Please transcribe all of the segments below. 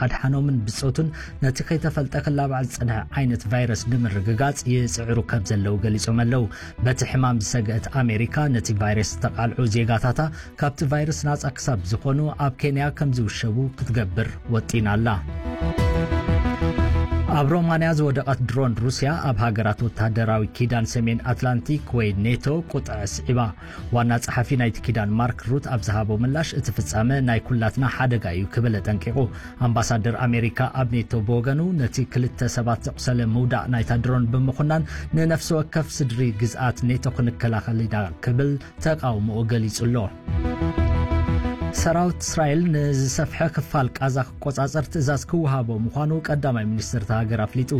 ኣድሓኖምን ብጾቱን ነቲ ከይተፈልጠ ክላባዕ ዝጸንሐ ዓይነት ቫይረስ ንምርግጋጽ ይጽዕሩ ከም ዘለዉ ገሊጾም ኣለዉ። በቲ ሕማም ዝሰግአት ኣሜሪካ፣ ነቲ ቫይረስ ዝተቓልዑ ዜጋታታ ካብቲ ቫይረስ ናጻ ክሳብ ዝኾኑ ኣብ ኬንያ ከም ዝውሸቡ ክትገብር ወጢና ኣላ። ኣብ ሮማንያ ዝወደቐት ድሮን ሩስያ ኣብ ሃገራት ወተሃደራዊ ኪዳን ሰሜን ኣትላንቲክ ወይ ኔቶ ቁጥዐ ስዒባ። ዋና ጸሓፊ ናይቲ ኪዳን ማርክ ሩት ኣብ ዝሃቦ ምላሽ፣ እቲ ፍጻመ ናይ ኩላትና ሓደጋ እዩ ክብል ኣጠንቂቑ። ኣምባሳደር ኣሜሪካ ኣብ ኔቶ ብወገኑ፣ ነቲ ክልተ ሰባት ዘቑሰለ ምውዳቕ ናይታ ድሮን ብምኹናን፣ ንነፍሲ ወከፍ ስድሪ ግዝኣት ኔቶ ክንከላኸል ኢና ክብል ተቓውሞኡ ገሊጹ ኣሎ። ሰራዊት እስራኤል ንዝሰፍሐ ክፋል ቃዛ ክቆጻጸር ትእዛዝ ክወሃቦ ምዃኑ ቀዳማይ ሚኒስትር እታ ሃገር ኣፍሊጡ።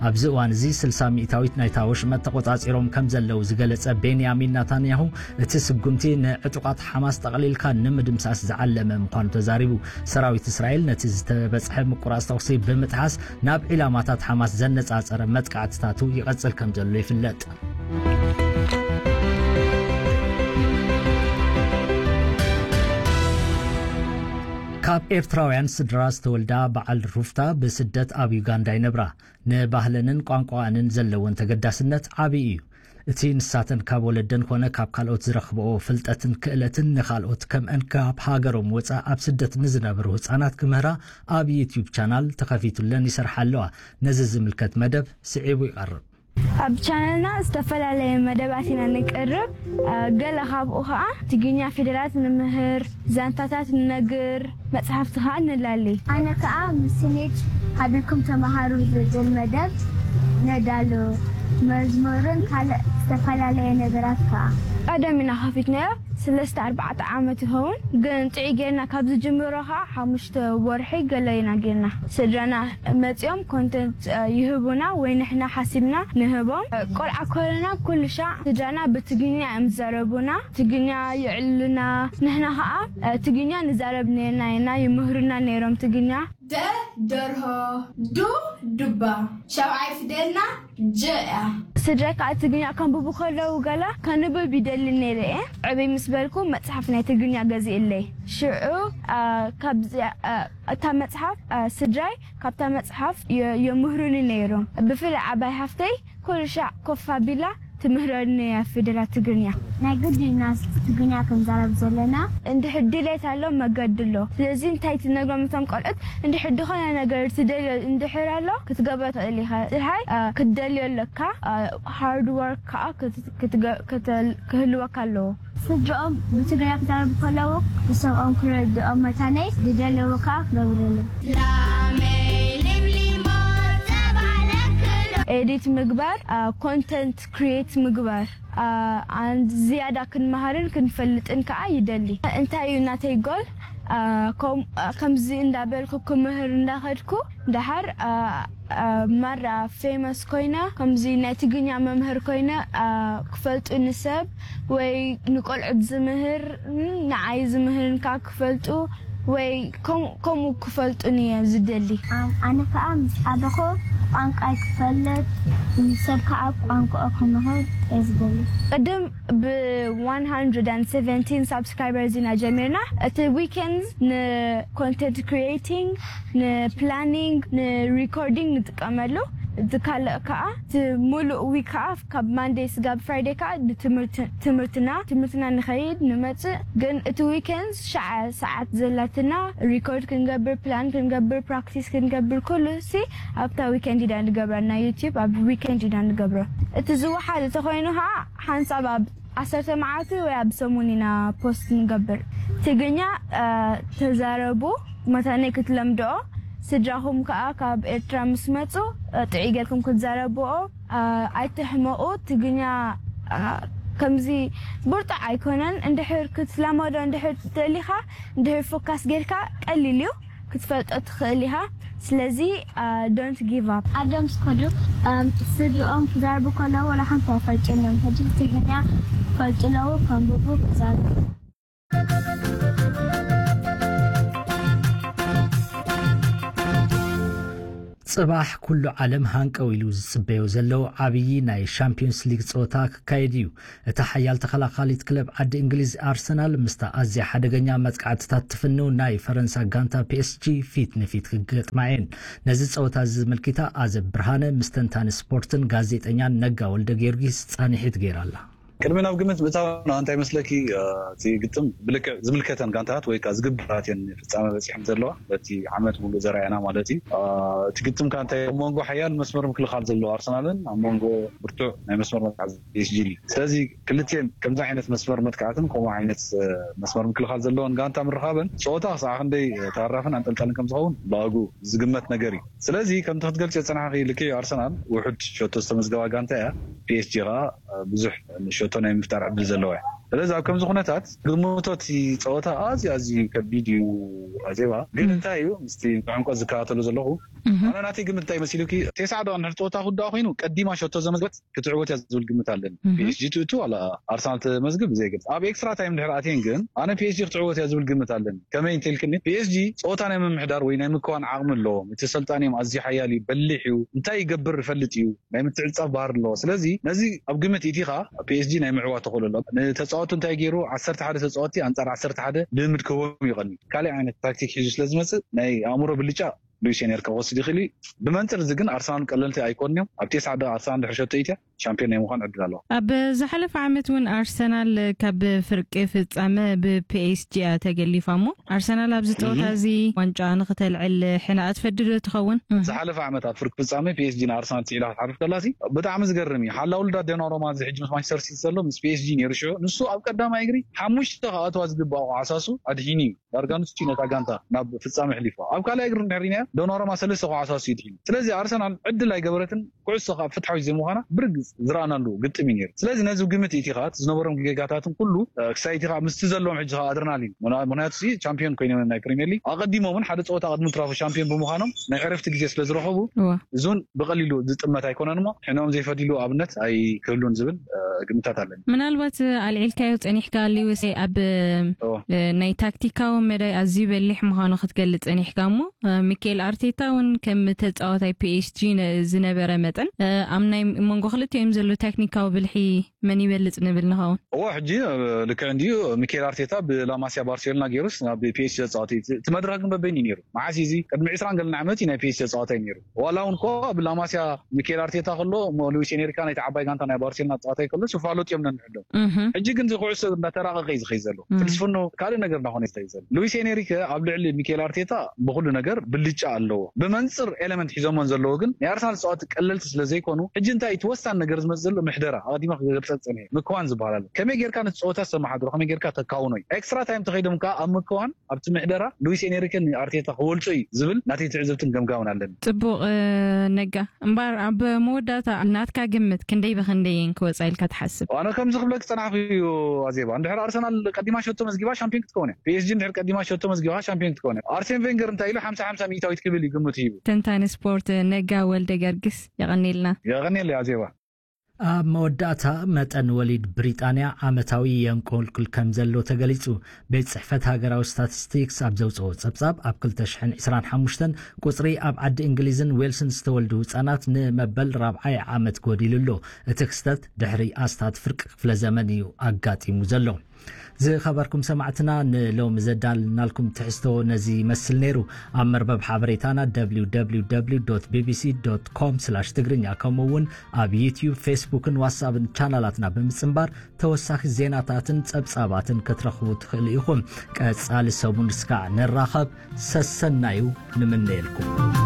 ኣብዚ እዋን እዚ ስልሳ ሚእታዊት ናይታ ወሽመጥ ተቆጻጺሮም ከም ዘለዉ ዝገለጸ ቤንያሚን ናታንያሁ፣ እቲ ስጉምቲ ንዕጡቓት ሓማስ ጠቕሊልካ ንምድምሳስ ዝዓለመ ምዃኑ ተዛሪቡ። ሰራዊት እስራኤል ነቲ ዝተበጽሐ ምቁራጽ ተኹሲ ብምጥሓስ ናብ ዒላማታት ሓማስ ዘነጻጸረ መጥቃዕትታቱ ይቐጽል ከም ዘሎ ይፍለጥ። ካብ ኤርትራውያን ስድራ ዝተወልዳ በዓል ሩፍታ ብስደት ኣብ ዩጋንዳ ይነብራ። ንባህለንን ቋንቋኣንን ዘለወን ተገዳስነት ዓቢ እዩ። እቲ ንሳተን ካብ ወለደን ኮነ ካብ ካልኦት ዝረኽብኦ ፍልጠትን ክእለትን ንኻልኦት ከምአን ካብ ሃገሮም ወጻእ ኣብ ስደት ንዝነብሩ ህጻናት ክምህራ ኣብ ዩትዩብ ቻናል ተኸፊቱለን ይሰርሓ ኣለዋ። ነዚ ዝምልከት መደብ ስዒቡ ይቐርብ። ኣብ ቻነልና ዝተፈላለየ መደባት ኢና ንቅርብ። አ፣ ገለ ካብኡ ኸዓ ትግርኛ ፊደላት ንምህር፣ ዛንታታት ንነግር፣ መጽሓፍቲ ኸዓ ንላሊ። ኣነ ከኣ ምስ ኔድ ሓቢርኩም ተመሃሩ ዝብል መደብ ነዳሉ። መዝሙርን ካልእ ዝተፈላለየ ነገራት ከኣ። ቀደም ኢና ከፊትናዮ፣ ሰለስተ ኣርባዕተ ዓመት ይኸውን፣ ግን ጥዑይ ጌርና ካብ ዝጅምሮ ኸዓ ሓሙሽተ ወርሒ ገለ ኢና ጌርና። ስድራና መጺኦም ኮንተንት፣ እ፣ ይህቡና ወይ ንሕና ሓሲብና ንህቦም። እ፣ ቆልዓ ኮለና ኩሉ ሻዕ ስድራና ብትግርኛ እዮም ዝዛረቡና፣ ትግርኛ የዕልሉና። ንሕና ኸዓ፣ እ፣ ትግርኛ ንዛረብ ነርና ኢና፣ ይምህሩና ነይሮም ትግርኛ። ደ፣ ደርሆ። ዱ፣ ዱባ። ሻብዓይ ፊደልና ጀ እያ። ስድራይ ከዓ ትግርኛ ከንብቡ ከለዉ ገለ ከንብብ ይደሊ ነይረ እየ። ዕብይ ምስ በልኩ መጽሓፍ ናይ ትግርኛ ገዚእለይ። ሽዑ፣ አ፣ ካብዚ፣ አ፣ እታ መጽሓፍ፣ አ፣ ስድራይ ካብታ መጽሓፍ የ-፣ የምህሩኒ ነይሮም። ብፍላይ ዓባይ ሓፍተይ ኩሉ ሻዕ ኮፍ ኣቢላ ትምህረኒ እያ ፊደላት ትግርኛ። ናይ ግድን ኢና ትግርኛ ክንዛረብ ዘለና። እንድሕር ድሌት ኣሎ፣ መገዲ ኣሎ። ስለዚ እንታይ ትነግሮም እቶም ቆልዑት፣ እንድሕር ዝኾነ ነገር ትደልዮ እንድሕር ኣሎ፣ ክትገብሮ ትኽእል ኢኻ። ጥራይ፣ አ፣ ክትደልዮ ኣለካ። አ፣ ሃርድ ወርክ ከኣ ክት-፣ ክትገ-፣ ክተ-፣ ክህልወካ ኣለዎ። ስድራኦም ብትግርኛ ክዛረቡ ከለዉ፣ ዝሰምዖም ክረድኦም መታነይ ዝደለዎ ከኣ ክገብሩሉ። ላመይ ልምሊሞ ጸባ ለክሎ። ኤዲት ምግባር፣ አ፣ ኮንተንት ክሪኤት ምግባር፣ አ፣ ኣንድ ዝያዳ ክንመሃርን ክንፈልጥን ከኣ ይደሊ። እንታይ እዩ ናተይ ጎል? አ፣ ከም-፣ አ፣ ከምዚ እንዳበልኩ ክምህር እንዳኸድኩ፣ ደሓር፣ አ፣ አ፣ ማራ ፌመስ ኮይነ፣ ከምዚ ናይ ትግርኛ መምህር ኮይነ፣ አ፣ ክፈልጡኒ ሰብ ወይ ንቆልዑት ዝምህር፣ ን-፣ ንዓይ ዝምህርን ከኣ ክፈልጡ ወይ ከም-፣ ከምኡ ክፈልጡኒ እየ ዝደሊ። ኣን-፣ ኣነ ከኣ ምስ ዓበኹ ቋንቋይ ክፈልጥ፣ ንሰብ ከኣ ቋንቋኡ ክምህር እየ ዝደሊ። ቅድም ብ one hundred seventeen ሳብስክራይበርስ ኢና ጀሚርና። እቲ ዊኬንድ ንኮንተንት ክሪኤቲንግ፣ ንፕላኒንግ፣ ንሪኮርዲንግ ንጥቀመሉ። እቲ ካልእ ከኣ እቲ ሙሉእ ዊክ ከኣ ካብ ማንዴይ ስጋብ ፍራይዴይ ከኣ ንትምህርቲ-፣ ትምህርትና፣ ትምህርትና ንኸይድ ንመጽእ። ግን እቲ ዊኬንድ ሸዓ ሰዓት ዘላትና ሪኮርድ ክንገብር፣ ፕላን ክንገብር፣ ፕራክቲስ ክንገብር፣ ኩሉ ሲ ኣብታ ዊኬንድ ኢና ንገብራ። ናይ ዩቲዩብ ኣብ ዊኬንድ ኢና ንገብሮ። እቲ ዝወሓድ እንተኾይኑ ከኣ ሓንሳብ ኣብ ዓሰርተ መዓልቲ ወይ ኣብ ሰሙን ኢና ፖስት ንገብር። ትግርኛ፣ እ፣ ተዛረቡ፣ መታነይ ክትለምድኦ። ስድራኹም ከኣ ካብ ኤርትራ ምስ መጹ፣ እ፣ ጥዑይ ጌርኩም ክትዛረብኦ፣ እ፣ ኣይትሕመቑ። ትግርኛ፣ እ፣ ከምዚ ብርጡዕ ኣይኮነን። እንድሕር ክትለመዶ እንድሕር ደሊኻ፣ እንድሕር ፎካስ ጌርካ ቀሊል እዩ። ክትፈልጦ ትኽእል ኢኻ። ስለዚ፣ አ፣ don't give up። ዓዶም ዝኸዱ፣ እም፣ ስድርኦም ክዛረቡ ከለዉ ዋላ ሓንቲ ኣይፈልጡን እዮም። ሕጂ ትግርኛ ክፈልጡ ኣለዉ፣ ከንብቡ፣ ክዛረቡ። ጽባሕ ኩሉ ዓለም ሃንቀው ኢሉ ዝጽበዮ ዘሎ ዓብዪ ናይ ሻምፒዮንስ ሊግ ጸወታ ክካየድ እዩ። እታ ሓያል ተኸላኻሊት ክለብ ዓዲ እንግሊዝ ኣርሰናል ምስታ ኣዝያ ሓደገኛ መጥቃዕትታት ትፍንው ናይ ፈረንሳ ጋንታ ፒ ኤስ ጂ ፊት ንፊት ክገጥማ እየን። ነዚ ጸወታ እዚ ዝምልኪታ ኣዘብ ብርሃነ ምስ ተንታኒ ስፖርትን ጋዜጠኛን ነጋ ወልደ ጊዮርጊስ ጻኒሒት ገይራ ኣላ። ቅድሚ ናብ ግምት ምእታው እንታይ መስለኪ? እቲ ግጥም ብልክዕ ዝምልከተን ጋንታት ወይ ከዓ ዝግብራት እየን ፍጻመ በፂሐን ዘለዋ በቲ ዓመት ሙሉእ ዘርኣየና ማለት እዩ። እቲ ግጥም ከዓ እንታይ ኣብ መንጎ ሓያል መስመር ምክልኻል ዘለዎ ኣርሰናልን ኣብ መንጎ ብርቱዕ ናይ መስመር መጥቃዕቲ ፒ ኤስ ጂ እዩ። ስለዚ ክልቲኤን ከምዚ ዓይነት መስመር መጥቃዕትን ከምኡ ዓይነት መስመር ምክልኻል ዘለዎን ጋንታ ምርኻበን ፀወታ ክሳዕ ክንደይ ተሃራፍን ኣንጠልጣልን ከም ዝኸውን ብኣጉ ዝግመት ነገር እዩ። ስለዚ ከምቲ ክትገልፂ ዝፀናሕኪ ልክዕ ኣርሰናል ውሑድ ሸቶ ዝተመዝገባ ጋንታ እያ። ፒ ኤስ ጂ ከዓ ብዙሕ ሸቶ ናይ ምፍጣር ዕድል ዘለዋ እያ። ስለዚ ኣብ ከምዚ ኩነታት ግምቶ እቲ ፀወታ ኣዝዩ ኣዝዩ ከቢድ እዩ። ኣዜባ ግን እንታይ እዩ ምስቲ ብዕምቆት ዝከታተሉ ዘለኹ ኣነ ናተይ ግምት እንታይ መሲሉኪ? ቴስዓ ደቂቕ እንድሕር ፀወታ ክውዳእ ኮይኑ ቀዲማ ሸቶ ዘመዝገበት ክትዕወት እያ ዝብል ግምት ኣለኒ። ፒ ኤስ ጂ ትእቱ ዋላ ኣርሰናል ተመዝግብ ብዘይ ግምት ኣብ ኤክስትራ ታይም እንድሕር ኣትየን ግን ኣነ ፒ ኤስ ጂ ክትዕወት እያ ዝብል ግምት ኣለኒ። ከመይ እንተልክኒ ፒ ኤስ ጂ ፀወታ ናይ ምምሕዳር ወይ ናይ ምክዋን ዓቕሚ ኣለዎም። እቲ ሰልጣን እዮም ኣዝዩ ሓያል እዩ፣ በሊሕ እዩ፣ እንታይ ይገብር ይፈልጥ እዩ፣ ናይ ምትዕፃብ ባህር ኣለዎ። ስለዚ ነዚ ኣብ ግምት ኢቲኻ ፒ ኤስ ጂ ናይ ምዕዋ ተኽእሎ ኣሎ። ንተፃወቱ እንታይ ገይሩ ዓሰርተ ሓደ ተፃወቲ ኣንፃር ዓሰርተ ሓደ ልምድ ክህቦም ይቐኒ ካልእ ዓይነት ታክቲክ ሒዙ ስለ ዝመፅእ ናይ ኣእምሮ ብልጫ ሉዊስ ኤንሪከ ክወስድ ይኽእል እዩ። ብመንፅር እዚ ግን ኣርሰናል ቀለልቲ ኣይኮኑን እዮም። ኣብ ቴስዓ ደቂቕ ኣርሰናል ድሕሪ ሸቶ ኢትያ ሻምፒዮን ናይ ምዃን ዕድል ኣለዋ። ኣብ ዝሓለፈ ዓመት እውን ኣርሰናል ካብ ፍርቂ ፍጻመ ብ ፒ ኤስ ጂ እያ ተገሊፋ እሞ ኣርሰናል ኣብዚ ጸወታ እዚ ዋንጫ ንክተልዕል ሕና ትፈዲ ዶ ትኸውን? ዝሓለፈ ዓመት ኣብ ፍርቂ ፍጻመ ፒ ኤስ ጂ ንኣርሰናል ስዒላ ክትሓልፍ ከላሲ ብጣዕሚ ዝገርም እዩ። ሓላ ውልዳት ዶናሩማ እዚ ሕጂ ምስ ማንቸስተር ሲቲ ዘሎ ምስ ፒ ኤስ ጂ ነይሩ ሽዑ ንሱ ኣብ ቀዳማይ እግሪ ሓሙሽተ ክኣትዋ ዝግባእ ዓሳሱ ኣድሒኑ እዩ። ዳርጋ ንሱ ነታ ጋንታ ናብ ፍጻመ ኣሕሊፍዋ። ኣብ ካልኣይ እግሪ እንድሕር ርኢናዮ ዶናሩማ ሰለስተ ክዓሳሱ ይድሒኑ። ስለዚ ኣርሰናል ዕድል ኣይገበረትን። ኩዕሶ ከዓ ፍትሓዊ ዘይምዃና ብርግጽ ዝረኣናሉ ግጥም እዩ ነይሩ። ስለዚ ነዚ ግምት ኢቲኻ ዝነበሮም ጌጋታትን ኩሉ ክሳይ ኢቲኻ ምስቲ ዘለዎም ሕጂ ከዓ ኣድረናሊን ምክንያቱ ሲ ቻምፒዮን ኮይኖም ናይ ፕሪሚየር ሊግ ኣቐዲሞም እውን ሓደ ፀወታ ቅድሚ ትራፉ ቻምፒዮን ብምዃኖም ናይ ዕረፍቲ ግዜ ስለ ዝረኸቡ እዋ። እዚ እውን ብቐሊሉ ዝጥመት ኣይኮነን እሞ ሕነኦም ዘይፈዲሉ ኣብነት ኣይክህሉን ዝብል ግምታት ኣለኒ። ምናልባት ኣልዒልካዮ ጸኒሕካ ሊውስ ኣብ ናይ ታክቲካዊ መዳይ ኣዝዩ በሊሕ ምዃኑ ክትገልጽ ጸኒሕካ እሞ ሚካኤል ኣርቴታ እውን ከም ተጻዋታይ ፒ ኤስ ጂ ዝነበረ መጠን ኣብ ናይ መንጎ ክልቲኦም ዘሎ ታክቲካዊ ብልሒ መን ይበልጽ ንብል ንኸውን? እዎ ሕጂ ልክዕ እንድዩ። ሚካኤል ኣርቴታ ብላማሲያ ባርሴሎና ገይሩስ ናብ ፒ ኤስ ጂ ተጻዋታይ እቲ መድረኽ ግን በበይኑ እዩ ነይሩ። መዓስ እዩ እዚ ቅድሚ ዕስራን ገለን ዓመት እዩ ናይ ፒ ኤስ ጂ ተጻዋታይ ነይሩ። ዋላ እውን እኮ ብላማሲያ ሚካኤል ኣርቴታ ከሎ እሞ ሉዊስ ኤንሪካ ናይቲ ዓባይ ጋንታ ናይ ባርሴሎና ተጻዋታይ ከሎ ስፋሎጥ እዮም ነንሕዶም። ሕጂ ግን እዚ ኩዕሶ እንዳተራቐቐ እዩ ዝኸይ ዘሎ። ፍልስፍኖ ካልእ ነገር እንዳኾነ እዩ ዝኸይ ዘሎ። ሉዊስ ኤንሪከ ኣብ ልዕሊ ሚካኤል ኣርቴታ ብኩሉ ነገር ብልጫ ኣለዎ። ብመንፅር ኤለመንት ሒዞሞን ዘለዎ ግን ናይ ኣርሰናል ተፃወቲ ቀለልቲ ስለ ዘይኮኑ ሕጂ እንታይ እቲ ወሳኒ ነገር ዝመፅእ ዘሎ ምሕደራ ኣቐዲማ ክገልፀ ፀኒሐ ምክዋን ዝበሃል ኣሎ። ከመይ ጌርካ ነቲ ፀወታ ዝተመሓድሮ ከመይ ጌርካ ተካውኖ እዩ። ኤክስትራ ታይም ተኸይዶም ከዓ ኣብ ምክዋን ኣብቲ ምሕደራ ሉዊስ ኤንሪከ ንኣርቴታ ክወልፆ እዩ ዝብል ናተይ ትዕዝብትን ገምጋምን ኣለኒ። ፅቡቕ ነጋ እምበር ኣብ መወዳእታ ናትካ ግምት ክንደይ ብክንደይ እየን ክወፃ ኢልካ ትሓስብ? ኣነ ከምዚ ክብለክ ዝፀናሕኩ እዩ ኣዜባ። እንድሕር ኣርሰናል ቀዲማ ሸቶ መዝጊባ ሻምፒዮን ክትከውን እያ። ፒ ኤስ ጂ እንድሕር ቀዲማ ሸቶ መዝጊባ ሻምፒዮን ክትከውን እያ። ኣርሴን ቬንገር እንታይ ኢሉ ሓምሳ ሓምሳ ሚእታዊት ክብል እዩ ግምት ሂቡ። ተንታኒ ስፖርት ነጋ ወልደ ገርግስ የቐኒልና። የቐኒል ኣዜባ። ኣብ መወዳእታ መጠን ወሊድ ብሪጣንያ ዓመታዊ የንቆልቁል ከም ዘሎ ተገሊጹ። ቤት ጽሕፈት ሃገራዊ ስታቲስቲክስ ኣብ ዘውጽኦ ጸብጻብ ኣብ ክልተ ሽሕን ዕስራን ሓሙሽተን ቁጽሪ ኣብ ዓዲ እንግሊዝን ዌልስን ዝተወልዱ ህጻናት ንመበል ራብዓይ ዓመት ጎዲሉ ኣሎ። እቲ ክስተት ድሕሪ ኣስታት ፍርቂ ክፍለ ዘመን እዩ ኣጋጢሙ ዘሎ። ዝኸበርኩም ሰማዕትና ንሎሚ ዘዳልናልኩም ትሕዝቶ ነዚ ይመስል ነይሩ። ኣብ መርበብ ሓበሬታና ደብሊው ደብሊው ደብሊው ዶት ቢ ቢ ሲ ዶት ኮም ስላሽ ትግርኛ ከምኡ እውን ኣብ ዩትዩብ፣ ፌስቡክን ዋትሳፕን ቻናላትና ብምጽንባር ተወሳኺ ዜናታትን ጸብጻባትን ክትረኽቡ ትኽእሉ ኢኹም። ቀጻሊ ሰሙን እስካዕ ንራኸብ ሰሰናዩ ንምነየልኩም።